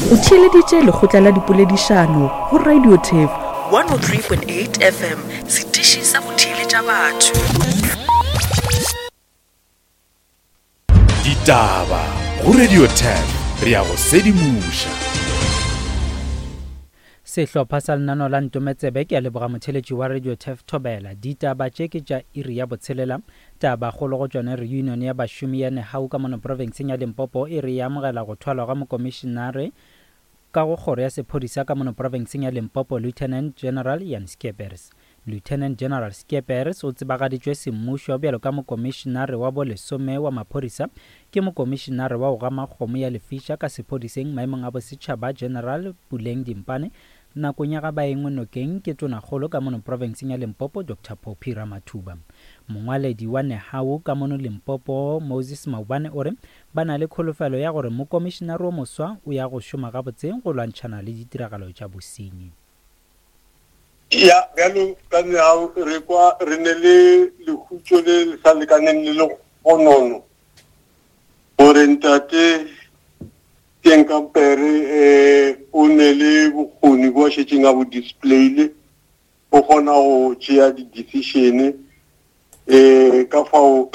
O theeleditše lekgotla la dipoledišano go Radio Turf 103.8 FM, setiši sa go theeletša batho. Ditaba go Radio Turf, re a go sedimoša. Sehlopha sa lenaneo la Ntometsebe ke a leboga motheeletši wa Radio Turf Thobela. Ditaba tše ke tša iri ya botshelela. Tabakgolo go tšona Reunion ya bašomi ya Nehawu ka mono profenseng ya Limpopo e re e amogela go thwalwa ga mokomišenare ka go kgoro ya sephodisa ka mono profenseng ya Limpopo Lieutenant General Jan Scheepers. Lieutenant General Scheepers o tsebagaditšwe semmušo bjalo ka mokomišenare wa bo lesome wa maphodisa ke mokomišenare wa go gama kgomo ya lefiša ka sephodiseng maemong a bosetšhaba General Puleng Dimpane Nakong ya ga ba engwe nokeng ke Tonakgolo ka mono profenseng ya Limpopo Doctor Phophi Ramathuba. Mongwaledi wa Nehawu ka mono Limpopo Moses Maubane o re ba na le kholofelo ya gore mokomišenare wo moswa o ya go šoma gabotse go lwantšhana le ditiragalo tša bosenyi. Ya, bjalo ka Nehawu re kwa re ne le lehutšo le le sa lekaneng le legonono gore ntate Tienkampere eh, o ne le bokgoni bo a šetšeng a bo displayile, o kgona go tšea di-decision eh, ka fao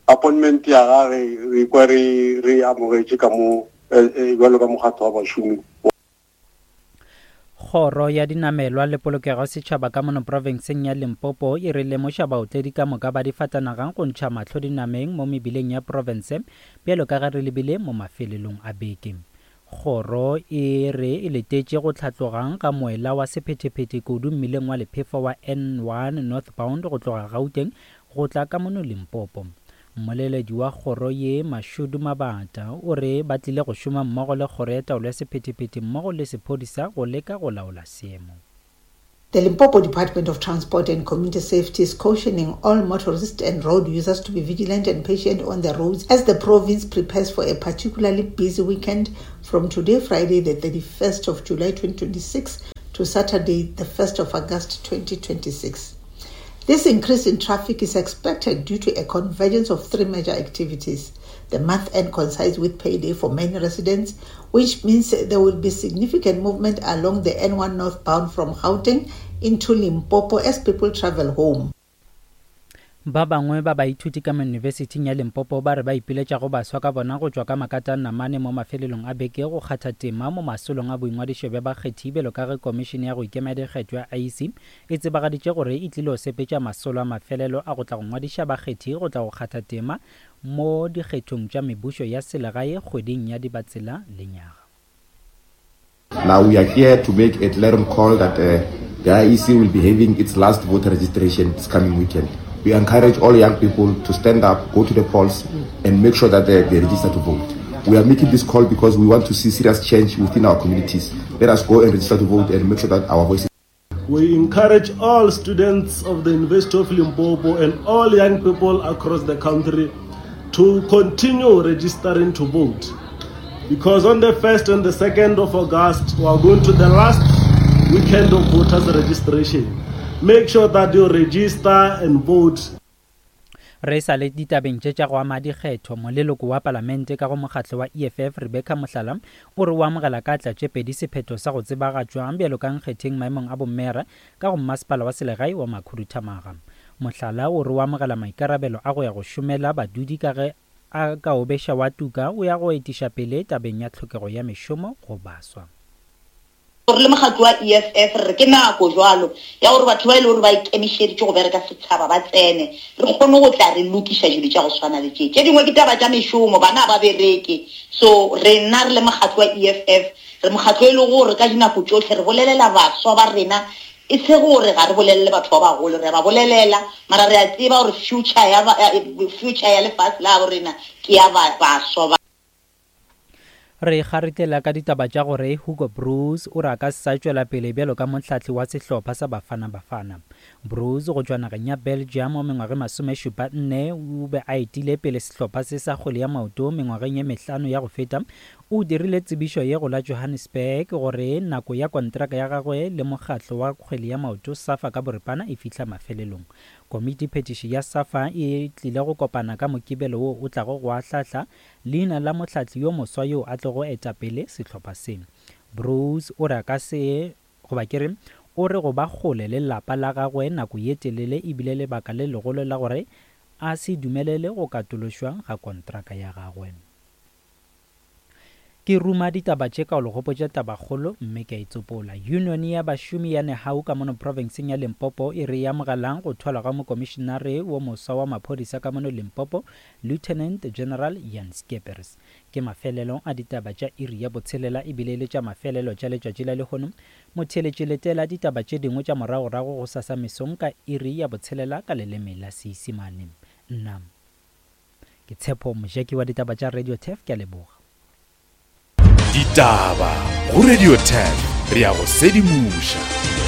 appointment ya gage re kwa re re amogetše ka mo eh, eh, bjalo ka mokgatlo wa bašomi. Kgoro ya Dinamelwa le Polokego ya Setšhaba ka mono profenseng ya Limpopo e re lemoša baotledi ka moka ba difatanaga go ntšha mahlo dinameng mo mebileng ya profense bjalo ka ge re lebile mo mafelelong a beke. Kgoro e re e letetše go hlatloga ga moela wa sephethephethe kudu mmileng wa lephefo wa N1 northbound go tloga Gauteng go tla ka mono Limpopo. Mmoleledi wa kgoro ye, Mashudu Mabata, o re ba tlile go šoma mmogo le kgoro ya taolo ya sephethephethe mmogo le sephodisa go leka go laola seemo. The Limpopo Department of Transport and Community Safety is cautioning all motorists and road users to be vigilant and patient on the roads as the province prepares for a particularly busy weekend from today, Friday, the 31st of July 2026, to Saturday, the 1st of August 2026. This increase in traffic is expected due to a convergence of three major activities. The month end coincides with payday for many residents, which means there will be significant movement along the N1 northbound from Gauteng into Limpopo as people travel home. Ba bangwe ba baithuti ka mo Yunibesithing ya Limpopo ba re ba ipiletša go baswa ka bona go tšwa ka makata namane mo mafelelong a beke go kgatha tema mo masolong a boingwadišo bja bakgethi bjalo ka ge Komišene ya go Ikema Dikgetho ya IEC e tsebagaditše gore e tlilo sepetša masolo a mafelelo a go tla go ngwadiša bakgethi go tla go kgatha tema mo dikgethong tša mebušo ya selegae kgweding ya Dibatsela lenyaga. Now we are here to make a clarion call that uh, the IEC will be having its last voter registration this coming weekend. We encourage all young people to stand up, go to the polls, and make sure that they, they register to vote. We are making this call because we want to see serious change within our communities. Let us go and register to vote and make sure that our voices We encourage all students of the University of Limpopo and all young people across the country to continue registering to vote. Because on the 1st and the 2nd of August, we are going to the last weekend of voters registration. Make sure that you register and vote. Re sa le ditabeng tše tša go ama dikgetho, moleloko wa palamente ka go mokgatlo wa EFF Rebecca Mohlala o re o amogela ka atla tše pedi sephetho sa go tsebagatšwa bjalo ka nkgetheng maemong a bommeyara ka go mmasepala wa selegae wa Makhuduthamaga. Mohlala o re o amogela maikarabelo a go ya go šomela badudi ka ge a ka obeša wa tuka o ya go etiša pele tabeng ya tlhokego ya mešomo go baswa. Re le mokgatlo wa EFF re re ke nako jwalo ya gore batho ba e le gore ba ikemišeditše go bereka setšhaba ba tsene, re kgone go tla re lokiša dilo tša go swana le tše. Tše dingwe ke taba tša mešomo, bana ga ba bereke. So rena re le mokgatlo wa EFF re mokgatlo e lego gore ka dinako tšohle re bolelela baswa ba rena, e se gore ga re bolelele batho ba bagolo, re a ba bolelela mara re a tseba gore future ya, future ya lefase la gabo rena ke ya baswa ba. Re kgaritlela ka ditaba tša gore Hugo Broos o re a ka se sa tšwela pele bjalo ka mohlahli wa sehlopha sa Bafana Bafana. Broos go tšwa nageng ya Belgium wa mengwaga e masomešupa nne o be a etile pele sehlopha se sa kgwele ya maoto mengwageng ye mehlano ya go feta. O dirile tsebišo ye go la Johannesburg gore nako ya kontraka ya gagwe le mokgatlo wa kgwele ya maoto SAFA ka boripana e fihla mafelelong. Komiti phethiši ya SAFA e tlile go kopana ka Mokibelo wo o tlago go ahlahla leina la mohlahli yo moswa yo a tlogo eta pele sehlopha se. Broos o re a ka se goba ke re o re go ba kgole le lapa la gagwe nako ye telele e bile lebaka le legolo la gore a se dumelele go katološwa ga kontraka ya gagwe. Ke ruma ditaba tše ka go le gopotša tabakgolo mme ke a e tsopola. Yunione ya bašomi ya Nehau ka mono profenseng ya Limpopo e re e amogelang go thwalwa ga mokomišenare wo moswa wa maphodisa ka mono Limpopo, Lieutenant General Jan Scheepers. Ke mafelelo a ditaba tša iri ya botshelela ebile e le tša mafelelo tša letšatši la lehono. Motheeletši letela ditaba tše dingwe tša moragorago gosasa mesong ka iri ya botshelela ka leleme la Seisimane. Nna. Ke Tshepo Mojaki wa ditaba tša Radio Turf, ke a leboga. Ditaba go Radio Turf, re a go sedimoša.